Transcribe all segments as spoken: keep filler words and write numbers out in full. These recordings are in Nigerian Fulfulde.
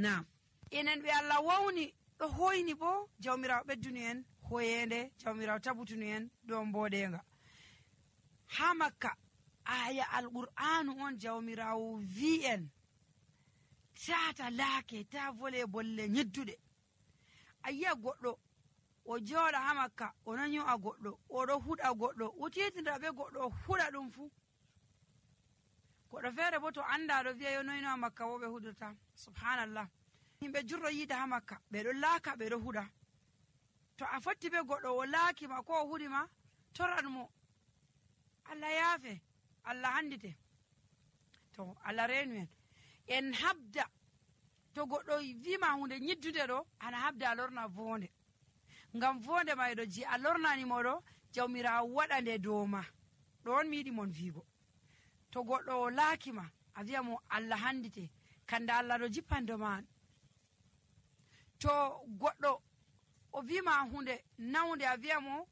Naam, enen ɓe Allah wawni ɗo hoyni bo jawmirawo ɓeddunu en hoyende, jawmirawo tabutunu en dow mboɗenga. Ha Makka aya alqur'anu on jawmirawo wi en tata laake ta vole bolle nyedduɗe. Ayiya goɗɗo o jooɗa ha Makka o nanyo a goɗɗo oɗo huɗa goɗɗo o titindira ɓe goɗɗo o huɗa ɗum fu. Goɗɗo feere bo to anda ɗo wi'a yo noyno ha Makka wo ɓe huɗirta. Subhanallah, himɓe jurɗo yiida ha Makka ɓeɗo laaka ɓeɗo huɗa. To a fotti be goɗɗo o laakima ko o huɗima toran mo, Allah yaafe, Allah handite. To Allah reenu en en habda to goɗɗo wima hunde nyiddude ɗo ana habda a lorna vonde, ngam vonde mayɗo ji a lornani moɗo jawmirawo waɗa nde dow ma. Ɗon mi yiɗi mon wiigo to goɗɗo o laakima a wi'a mo Allah handite, kanda Allah ɗo jippando ma. To goɗɗo o wima hunde nawde a wi'a mo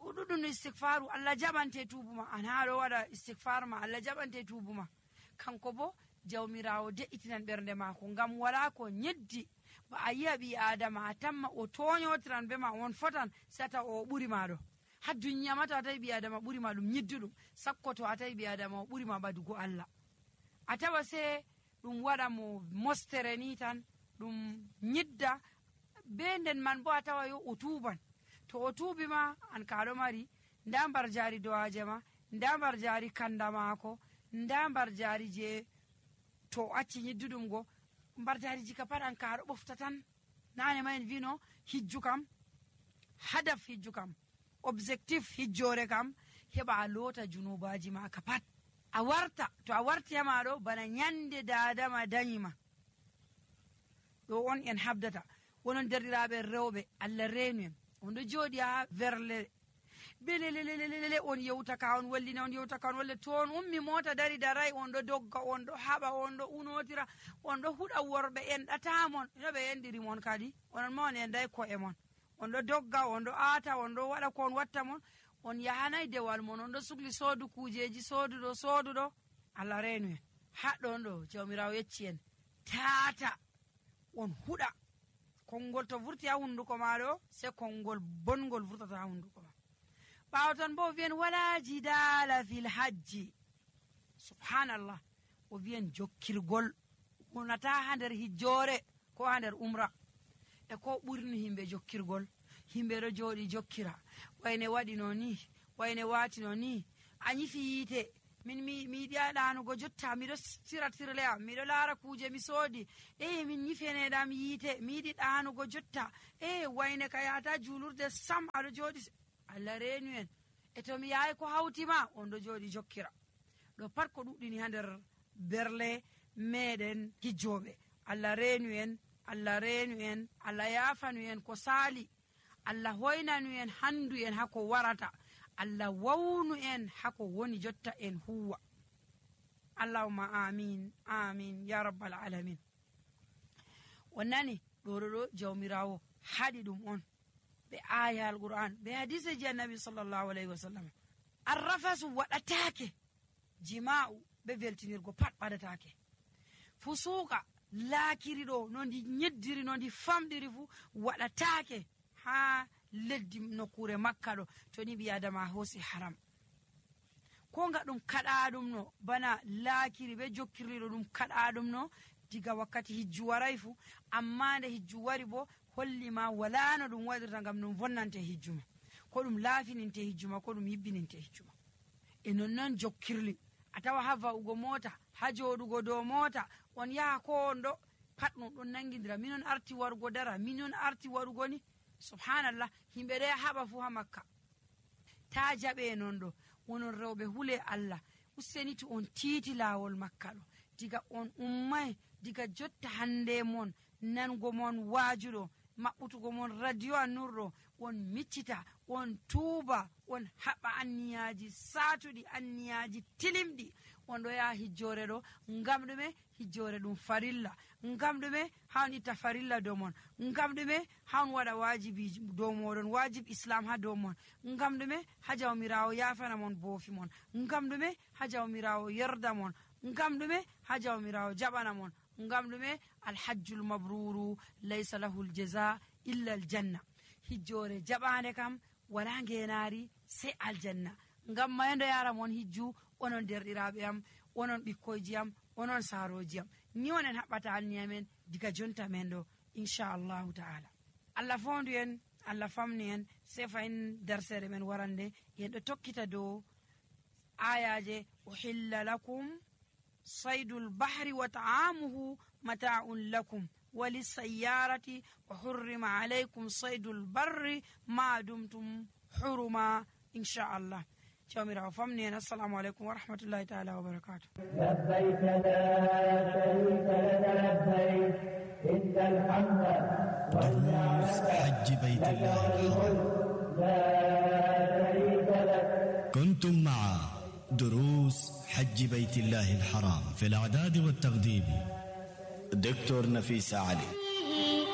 ɗuɗum istighfaru, Allah jaɓante tubuma, an ha ɗo waɗa istighfar ma, Allah jaɓante tubuma. Kanko bo jawmirawo de'itinan ɓernde mako, ngam wala ko nyeddi ba a yi'a ɓi adama a tamma o toñotiran be ma on fotan sata o ɓuri maɗo. Ha duniya ma to a tawi ɓi adama ɓuri ma ɗum nyidduɗum, sakko to a tawi ɓi adama o ɓuri ma ɓadugo Allah. A tawa se ɗum waɗa mo mostere ni tan ɗum nyidda be nden man bo a tawa yo o tuban. To o tuubi ma an kaɗo mari nda mbar jari dowaje ma, nda mbar jari kanda mako, nda mbar jari je to acci nyidduɗum go, mbar jari jika pat an kaɗo ɓofta tan. Nane ma en vino hijju kam, hadaf hijju kam, objectif hijjore kam heɓa a loota junubaji ma ka pat. A warta, to a warti ha maɗo bana nyande dadama danyima. Ɗo on en habdata. Wonon derɗiraɓe rewɓe Allah reenu en, on ɗo jooɗi ha verle belelelelele on yewta ka on wallina on yewta ka on walle toon ummi mota dari darai on ɗo dogga on ɗo haɓa on ɗo unotira on ɗo huɗa worɓe enɗatamon no ɓe endiri mon kadi onon ma on enday ko'e mon, on ɗo dogga on ɗo aata on ɗo waɗa ko on watta mon, on yahanay dewal mon, on ɗo sukli soodu kujeji sooduɗo sooduɗo. Allah reenu en haɗɗon ɗo jawmirawo yecci en tata on huɗa konngol to vurti ha hunduko maɗo se konngol bongol vurtata ha hunduko ma. ɓawo tan bo o wiyen wala jidala fil hajji. Subhanallah, o wiyen jokkirgol wonata ha nder hijjore ko ha nder umra. E ko ɓurni himɓe jokkirgol, himɓe ɗo jooɗi jokkira, wayne waɗino ni, wayne watino ni, a nyifi yiite min mi mi yiɗi ɗanugo jotta, miɗo tira tirleya, miɗo laara kuje mi soodi, e min nyifeneɗam yiite, mi yiɗi ɗanugo jotta, e wayne ka yata julurde sam, aɗo jooɗi. Allah reenu en, e to mi yahay ko hawtima on ɗo jooɗi jokkira. ɗo pat ko ɗuɗɗini ha nder berle meɗen hijjoɓe. Allah reenu en, Allah reenu en, Allah yafanu en ko saali, Allah hoynanu en handu en hako warata, Allah wawnu en hako woni jotta en huwa. Allahumma amin amin ya rabbal alamin. On nani ɗo ɗo jawmirawo haɗi ɗum on be aya alquran be hadise ji annabi sallallahu alaihi wasallam. Arrafasu waɗatake, jima'u be veltinirgo pat ɓaɗatake, fusuka laakiri ɗo no ndi nyeddiri no ndi famɗiri fu waɗatake ha leddi nokkure Makka ɗo to ni ɓi adama hosi haram. Ko nga ɗum kaɗa ɗum no bana laakiri be jokkirliɗo ɗum kaɗa ɗum no diga wakkati hijju waray fu, amma nde hijju wari bo hollima wala no ɗum waɗirta ngam ɗum vonnante hijjuma, ko ɗum laafininte hijjuma, ko ɗum yibbininte hijjuma. E nonnon jokkirli a tawa ha va'ugo mota, ha joɗugo dow mota, on yaha ko on ɗo pat ɗum ɗon nangidira, minon arti warugo dara, minon arti warugo ni. Subhanallah, himɓe ɗo haɓa fu ha Makka. Ta jaɓe non ɗo wonon rewɓe hule Allah, useni to on tiiti laawol Makka ɗo, diga on ummay, diga jotta hande mon nango mon waajuɗo, maɓɓutugo mon radio annurɗo, on miccita, on tuuba, on haɓa anniyaji saatuɗi, anniyaji tilimɗi, on ɗo yaha hijjore ɗo ngam ɗume? Hijjore ɗum farilla, ngam ɗume? Ha on itta farilla dow mon, ngam ɗume? Ha on waɗa wajibi dow moɗon, wajib islam ha dow mon, ngam ɗume? Ha jawmirawo yafana mon boofi mon, ngam ɗume? Ha jawmirawo yerda mon, ngam ɗume? Ha jawmirawo jaɓana mon, ngam ɗume alhajjul mabruru laysa lahu aljaza illa aljanna. hijjore jaɓande kam wala ngenari sai aljanna. ngam mayendo yaram on hijju onon derɗiraɓe am, onon ɓikkoyji am, onon saroji am, ni onen haɓɓata anniyamen diga jonta men ɗo inchallahu ta'ala. Allah fondu en, Allah famni en, sai fayin darsere men warande en ɗo tokkita dow ayaje uhilla lakum saydul bahri wa ta'amuhu mata'un lakum walisayyarati wa hurrima alaykum saydul barri ma dumtum huruma inchallah. jawmirawo famni en. assalamu aleykum wa rahmatullahi ta'ala wa barakatuh. labbayk la sharika laka labbayk innal hamda wal ni'mata حج بيت الله الحرام. la sharika lak. كنتم مع دروس حج بيت الله الحرام في الإعداد والتقديم دكتور نفيس علي.